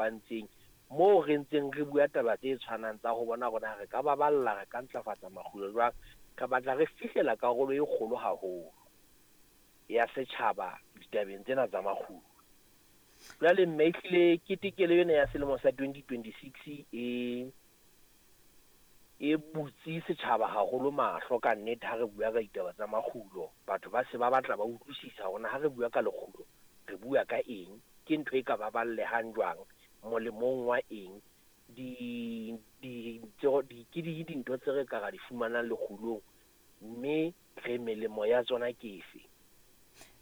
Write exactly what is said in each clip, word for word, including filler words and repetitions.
kopantseng moo re ntseng re bua taba tse tshwanang tsa ho bona hore na re ka baballa, re ka ntlafatsa makgulo jwang. Re batla re fihlela karolo e kgolo haholo ya setjhaba ditabeng tsena tsa makgulo. Jwale mme ehlile ketekelo ena ya selemo sa twenty twenty-six e e butse setjhaba haholo mahlo ka nnete ha re bua ka ditaba tsa makgulo. Batho ba se ba batla ba utlwisisa hore na ha re bua ka lekgulo re bua ka eng, ke ntho e ka baballehang jwang, molemong wa eng, di di di ke di dintho tse re ka ra di fumanang lekgulong, mme re melemo ya tsona ke efe.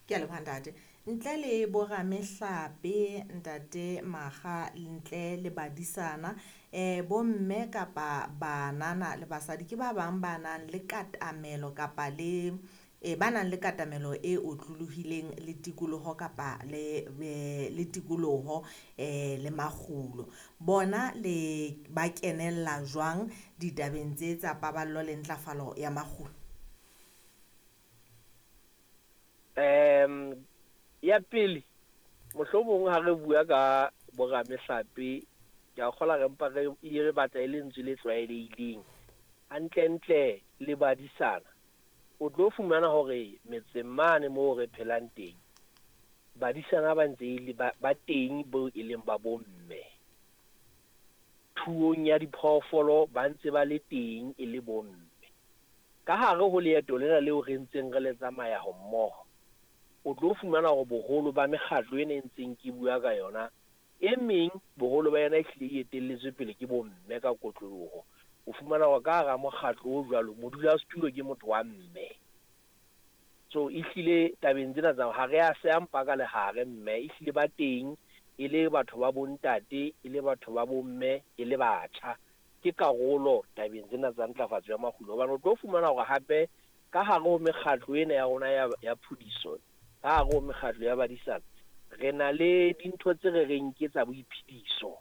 Ke a leboha ntate. Ntle le boramehlape ntate Makga, ntle le badisana, eh bomme kapa banana le basadi ke ba bang ba nang le katamelo kapa le e ba nang le katamelo e otlolohileng le tikoloho kapa le le tikoloho eh le makgulo. Bona le ba kenella jwang ditabeng tse tsa paballo le ntlafalo ya makgulo? Um ya pele, mohlomong ha re bua ka boramehlape, ke a kgola re mpa re e re batla e le lentswe le tlwaelehileng. Hantlentle le badisana, o tlo fumana hore metseng mane moo re phelang teng, badisana ba ntse e le ba, ba teng bo e leng ba bomme. Thuong ya diphoofolo ba ntse ba le teng e le bomme. Ka hare ho leeto lena leo re ntseng re le tsamaya ho mmoho, o tlo fumana hore boholo ba mekgatlo ena e ntseng ke bua ka yona, e meng boholo ba yona e hlile e etelletswe pele ke bomme ka kotloloho. O fumana hore ka hara mokgatlo o jwalo, modulasetulo ke motho wa mme. So ehlile tabeng tsena tsa ha re a seya mpa ka lehare mme, ehlile ba teng e le batho ba bontate, e le batho ba bomme, e le batjha. Ke karolo tabeng tsena tsa ntlafatso ya makgulo. Hobane o tlo fumana hore hape ka hare ho mekgatlo ena ya rona ya, ya phudiso, ka hare ho mekgatlo ya badisana, re na le dintho tse re reng ke tsa boiphediso,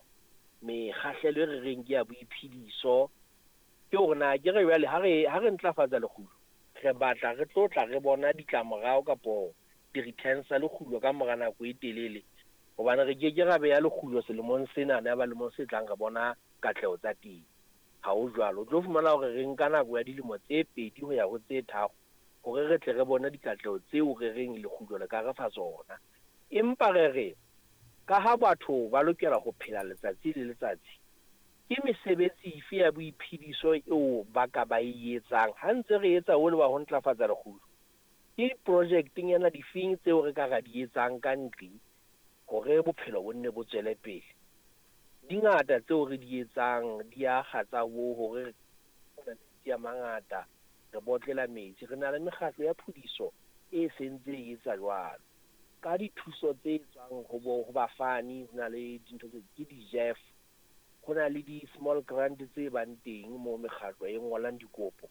mekgahlelo e re reng ke ya boiphediso. Ke hore na ke re jwale ha re, ha re ntlafatsa lekgulo, re batla re tlo tla re bona ditlamorao kapo di-returns tsa lekgulo ka mora nako e telele, hobane re ke ke ra beha lekgulo selemong sena, ya ba lemong se tlang re bona katleho tsa teng. Ha ho jwalo. O tlo fumana hore re nka nako ya dilemo tse pedi ho ya ho tse tharo hore re tle re bone dikatleho tseo re reng lekgulo le ka re fa tsona. Empa re re ka ha batho ba lokela ho phela letsatsi le letsatsi, ke mesebetsi efe ya boiphediso eo ba ka ba e etsang ha ntse re etsa hole wa ho ntlafatsa lekgulo? Ke project-nyana difeng tseo re ka ra di etsang ka ntle hore bophelo bo nne bo tswele pele? Di ngata tseo re di etsang, di akga tsa bo hore re metsi a mangata, re botlela metsi. Re na le mekgatlo ya phudiso e sentse e etsa jwalo. Ka dithuso tse tswang ho bo, ho bafani, ho na le dintho tse ke di-J E F, ho na le di-small grant tse bang teng moo mekgatlo e ngolang dikopo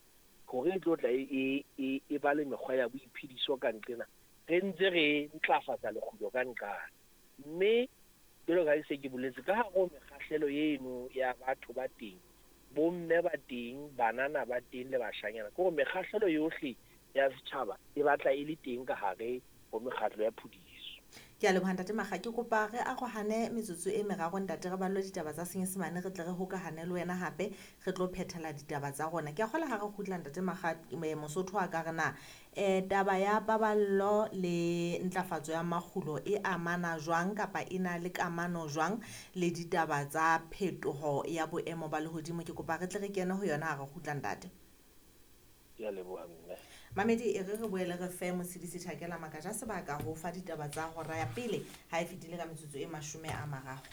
hore e tlo tla e, e, e, e ba le mekgwa ya boiphediso ka nqena. Re ntse re ntlafatsa lekgulo ka nqane. Mme jwalo ka ha se ke boletse, ka hare ho mekgahlelo eno ya batho ba teng, bomme ba teng, banana ba teng le bashanyana, ke hore mekgahlelo yohle ya setjhaba e batla e le teng ka hare ho mekgatlo ya phudiso. Ke a leboha ntate Makga. Ke kopa re arohane metsotso e meraro ntate, re ballwe ditaba tsa Senyesemane, re tle re hokahane le wena hape, re tlo phethela ditaba tsa rona. Ke a kgolwa ha re kgutla ntate Makga, Mosotho a ka re na eh taba ya paballo le ntlafatso ya makgulo e amana jwang kapa e na le kamano jwang le ditaba tsa phetoho ya boemo ba lehodimo? Ke kopa re tle re kene ho yona ha re kgutla ntate. Ke a leboha mme. Mamedi, e re re boele re fe Motshedisi Tjhakela Makaja sebaka ho fa ditaba tsa hora ya pele ha e fetile ka metsotso e mashome a mararo.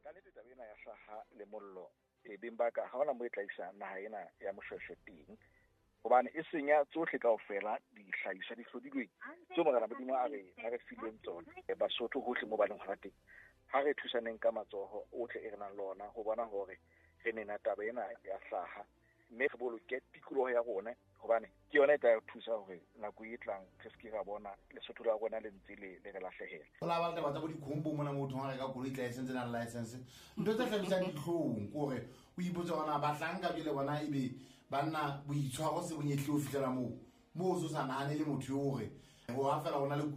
Ka nnete taba ena ya hlaha le mollo e beng ba ka ha hona moo e tla isa naha ena ya Moshweshwe teng, hobane e senya tsohle kaofela dihlahiswa di hlodilweng tseo Morena Modimo a re, a re fileng tsona. Basotho hohle moo ba leng hona teng, ha re thusaneng ka matsoho ohle e re nang le ona ho bona hore re nena taba ena ya hlaha, mme re boloke tikoloho ya rona, hobane ke yona e tla re thusa hore nako e tlang re se ke ra bona Lesotho la rona le ntse le, le re lahlehela. Ho la ba le taba tsa bo dikhombo mona motho ha reka koloi tla e sentse na le license. Ntho tse hlabisang dihlong ke hore o ipotse hore na bahlanka jwale bona ebe banna boitshwaro se bo nyehlile ho fihlela moo, moo o so sa nahane le motho eo hore ho ha fela ho na le kuno.